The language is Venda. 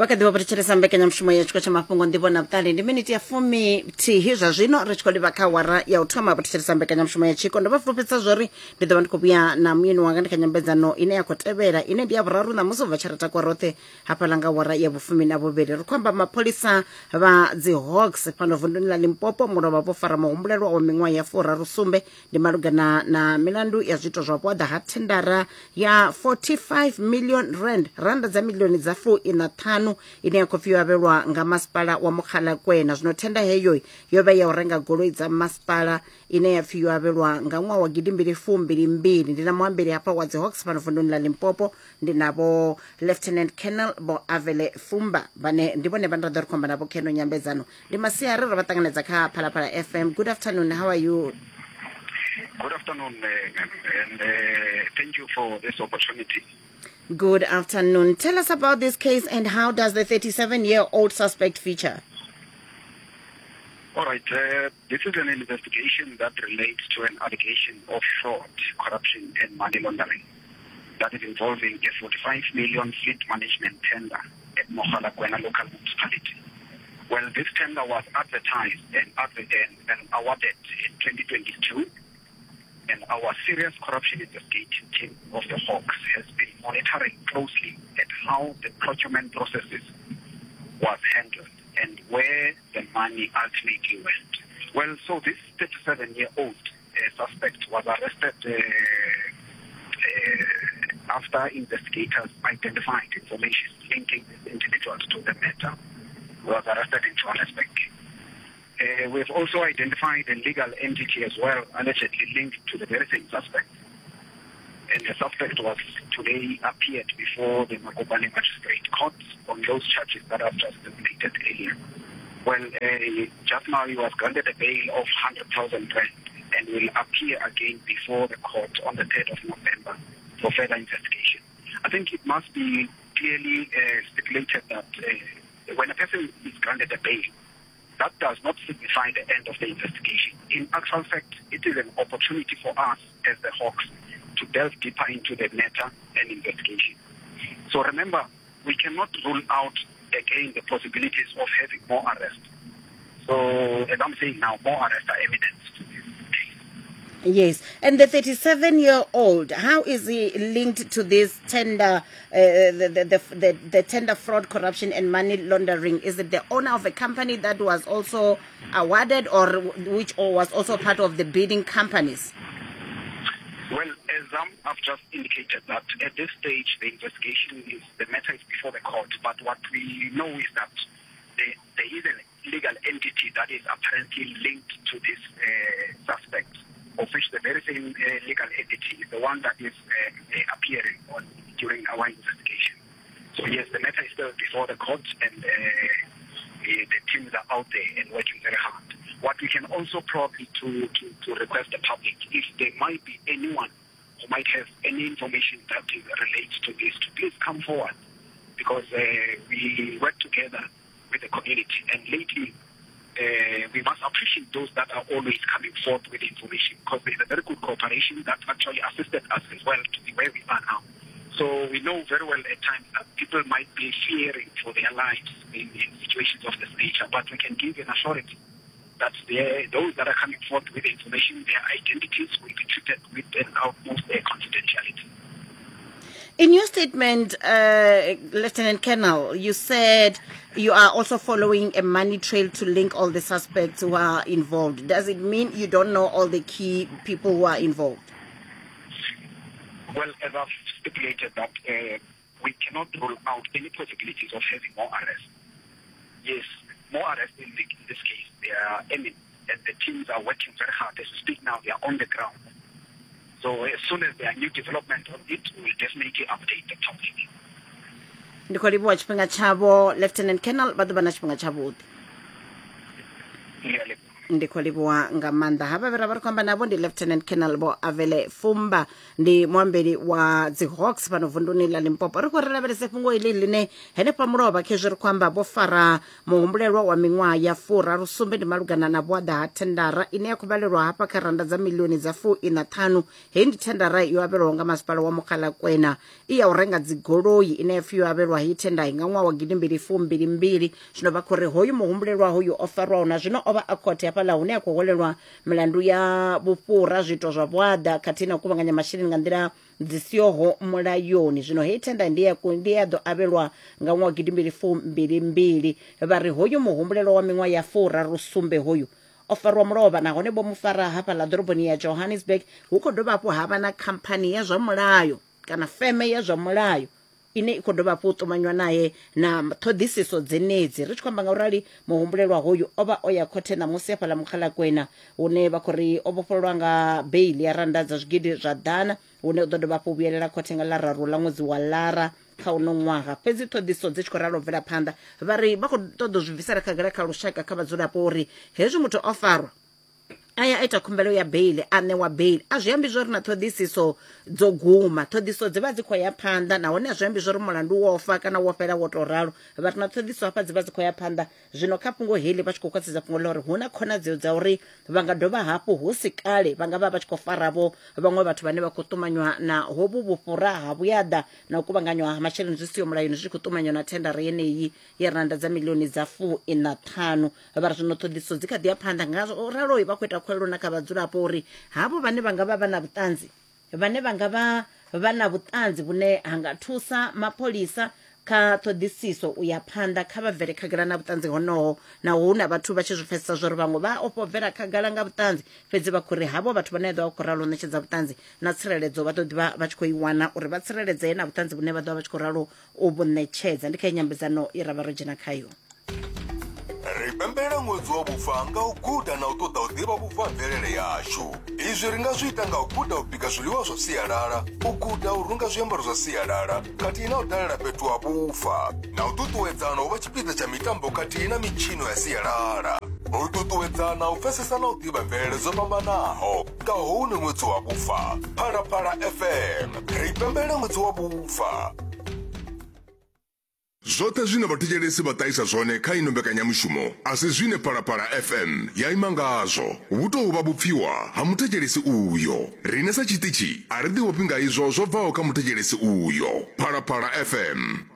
Vha kha ḓi vha vho thetshelesa mbekanyamushumo ya tshiko tsha mafhungo nḓivho na vhuṱali. Ndi miniti ya fumi thihi zwa zwino ri tshi khou livha kha wara ya u thoma. Vho thetshelesa mbekanyamushumo ya tshiko, ndo vha fulufhedzisa zwori ndi ḓo vha ndi khou vhuya na muyeni wanga ndi kha nyambedzano ine ya khou tevhela, ine ndi ya vhuraru ṋamusi u bva tsha ra takuwa roṱhe hafhaḽa nga wara ya vhufumi na vhuvhili. Ri khou amba mapholisa vha dzi Hawks fhano vunduni ḽa Limpopo mulovha vho fara muhumbulelwa wa miṅwaha ya furaru sumbe ndi malugana na milandu ya zwiito zwa vhuaḓa ha thendara ya 45 million rand, randa dza milioni dza 45, ine ya khou pfi yo avhelwa nga masipala wa Mogalakwena. Zwino thenda heyo yo vha ya u renga goloi dza masipala ine ya pfi yo avhelwa nga ṅwaha wa gidimbili fumbili mbili. Ndi na muambeli hafha wa dzi Hawks fhano vunduni ḽa Limpopo, ndi na vho Lieutenant Colonel Vho Avele Fumba, vhane ndi vhone vhane ra ḓo ri khou amba navho kheno nyambedzano. Ndi masiari, ro vha ṱanganedza kha Phalaphala FM. Good afternoon, how are you? Good afternoon, and thank you for this opportunity. Good afternoon. Tell us about this case and how does the 37-year-old suspect feature? All right. This is an investigation that relates to an allegation of fraud, corruption, and money laundering that is involving a 45 million fleet management tender at Mogalakwena local municipality. Well, this tender was advertised and awarded in 2022, and our serious corruption investigation team of the Hawks has been monitoring closely at how the procurement processes was handled and where the money ultimately went. Well, so this 37-year-old suspect was arrested after investigators identified information linking this individual to the matter. He was arrested in Johannesburg. We've also identified a legal entity as well, allegedly linked to the very same suspect. And the suspect was today appeared before the Mokopane Magistrate Court on those charges that I've just stated earlier. Well, just now he was granted a bail of 100,000 rand and will appear again before the court on the 3rd of November for further investigation. I think it must be clearly stipulated that when a person is granted a bail, that does not signify the end of the investigation. In actual fact, it is an opportunity for us as the Hawks to delve deeper into the matter and investigation. So remember, we cannot rule out again the possibilities of having more arrests. So, as I'm saying now, more arrests are imminent. Yes. And the 37-year-old, how is he linked to this tender, the tender fraud, corruption and money laundering? Is it the owner of a company that was also awarded, or which or was also part of the bidding companies? Well, as I've just indicated that at this stage, the investigation is, the matter is before the court. But what we know is that there is a legal entity that is apparently linked to this suspect, of which the very same legal entity is the one that is appearing on during our investigation. So yes, the matter is still before the court, and the teams are out there and working very hard. What we can also probably to request the public, if there might be anyone who might have any information that relates to this, to please come forward, because we work together with the community. And lately, we must appreciate those that are always coming forth with information, because there's a very good cooperation that actually assisted us as well to be where we are now. So we know very well at times that people might be fearing for their lives in situations of this nature, but we can give an assurance that those that are coming forth with information, their identities will be treated with an utmost confidentiality. In your statement, Lieutenant Colonel, you said you are also following a money trail to link all the suspects who are involved. Does it mean you don't know all the key people who are involved? Well, as I've stipulated that we cannot rule out any possibilities of having more arrests. Yes, more arrests in this case. They are imminent, and the teams are working very hard. As we speak now, they are on the ground. So as soon as there are new developments on it, we will definitely update the public. Ndi khou livhuwa tshifhinga tshavho, Lieutenant Colonel, vha ḓo vha na tshifhinga tshavhuḓi. Ndi khou livhuwa nga maanḓa. Havha vhe ra vha ri khou amba navho ndi Lieutenant Colonel Vho Avele Fumba, ndi muambeli wa dzi Hawks fhano vunduni ḽa Limpopo. Ri khou ri lavhelese fhungo iḽi ḽine henefha mulovha khezwi ri khou amba vho fara muhumbulelwa wa miṅwaha ya furaru sumbe ndi malugana na vhuaḓa ha thendara ine ya khou vhalelwa hafha kha randa dza milioni dza 45. Heyi ndi thendara yo avhelwaho nga masipala wa Mogalakwena i ya u renga dzigoloi ine ya pfi yo avhelwa heyi tenda nga ṅwaha wa 2022. Zwino vha khou ri hoyu muhumbulelwa hoyu o farwaho na zwino o vha a khothe hafhaḽa hune a khou hwelelwa milandu ya vhufhura, zwiito zwa vhuaḓa khathihi na u kuvhanganya masheleni nga nḓila dzi sihoho mulayoni. Zwino heyi thenda ndi ya ndi ya ḓo avhelwa nga ṅwaha wa 2022. Vha ri hoyu muhumbulelwa wa miṅwaha ya 37 hoyu o farwa mulovha nahone vho mu fara hafhaḽa ḓoroboni ya Johannesburg. Hu khou dovha hafhu ha vha na khamphani ya zwa mulayo kana feme ya zwa mulayo ine i khou dovha hafhu u ṱumanywa nae na ṱhoḓisiso dzenedzi. Ri tshi khou amba nga u rali, muhumbulelwa hoyu o vha o ya khothe ṋamusi hafhaḽa Mukgalakwena, hune vha khou ri o vhofhololwa nga beili ya rannda dza zwigidi zwa ḓana, hune u ḓo dovha hafhu u vhuyelela khothe nga ḽa raru ḽa ṅwedzi wa Lara kha uno ṅwaha. Fhedzi ṱhoḓisiso dzi tshi khou ralo bvela phanḓa, vha ri vha khou ṱoḓa u zwi bvisela khagala kha lushaka, kha vhadzulapo uri hezwi muthu o farwa a ya a ita khumbelo ya beili, a ṋewa beili, a zwi ambi zwori na ṱhoḓisiso dzo guma. Ṱhoḓisiso dzi vha dzi khou ya phanḓa, nahone a zwi ambi zwori mulandu wo fa kana wo fhela wo tou ralo. Vha ri na ṱhoḓisiso hafha dzi vha dzi khou ya phanḓa. Zwino kha fhungo heḽi vha tshi khou khwaṱhisedza fhungo ḽa uri hu na khonadzeo dza uri vha nga dovha hafhu hu si kale vha nga vha vha tshi khou faravho vhaṅwe vhathu vhane vha khou ṱumanywa na hovhu vhufhura ha vhuyaḓa na u kuvhanganywa ha masheleni zwi siho mulayoni zwi tshi khou ṱumanywa na thendara yeneyi ya rannda dza milioni dza 45. Vha ri zwino ṱhoḓisiso dzi kha ḓi ya phanḓa, nga ralo vha khou ita khuwelelo na kha vhadzulapo uri havho vhane vha nga vha vha na vhuṱanzi, vhane vha nga vha vha na vhuṱanzi vhune ha nga thusa mapholisa kha ṱhoḓisiso u ya phanḓa, kha vha bvele khagala na vhuṱanzi honoho. Naho hu na vhathu vha tshi zwi pfesesa zwa uri vhaṅwe vha ofha u bvela khagala nga vhuṱanzi, fhedzi vha khou ri havho vhathu vhane vha ḓo vha khou ralo u ṋetshedza vhuṱanzi na tsireledzo vha ḓo ḓivha vha tshi khou i wana uri vha tsireledzee na vhuṱanzi vhune vha ḓo vha vha tshi khou ralo u vhu ṋetshedza. Ndi kha nyambedzano ye ra vha ro dzhena khayo. Ri pembelela ṅwedzi wa vhufa nga u guda na u ṱoḓa u ḓivha vhufa ha mvelele yashu. Izwi ri nga zwi ita nga u guda u bika zwiḽiwa zwa sialala, u guda u runga zwiambaro zwa sialala khathihi na u dalela fhethu ha vhufa, na u ṱuṱuwedzana u vha tshipiḓa tsha mitambo khathihi na mitshino ya sialala. U ṱuṱuwedzana u pfesesa na u ḓivha mvelele dzo fhambanaho nga houno ṅwedzi wa vhufa. Phalaphala FM, ri pembelela ṅwedzi wa vhufa. Zwoṱhe zwine vhathetshelesi vha ṱahisa zwone kha ino mbekanyamushumo a si zwine Phalaphala FM ya ima ngazwo. Vhu tou vha vhupfiwa ha muthetshelesi uyo. Riṋe sa tshiṱitshi a ri ḓiofhi nga izwo zwo bvaho kha muthetshelesi uyo. Phalaphala FM.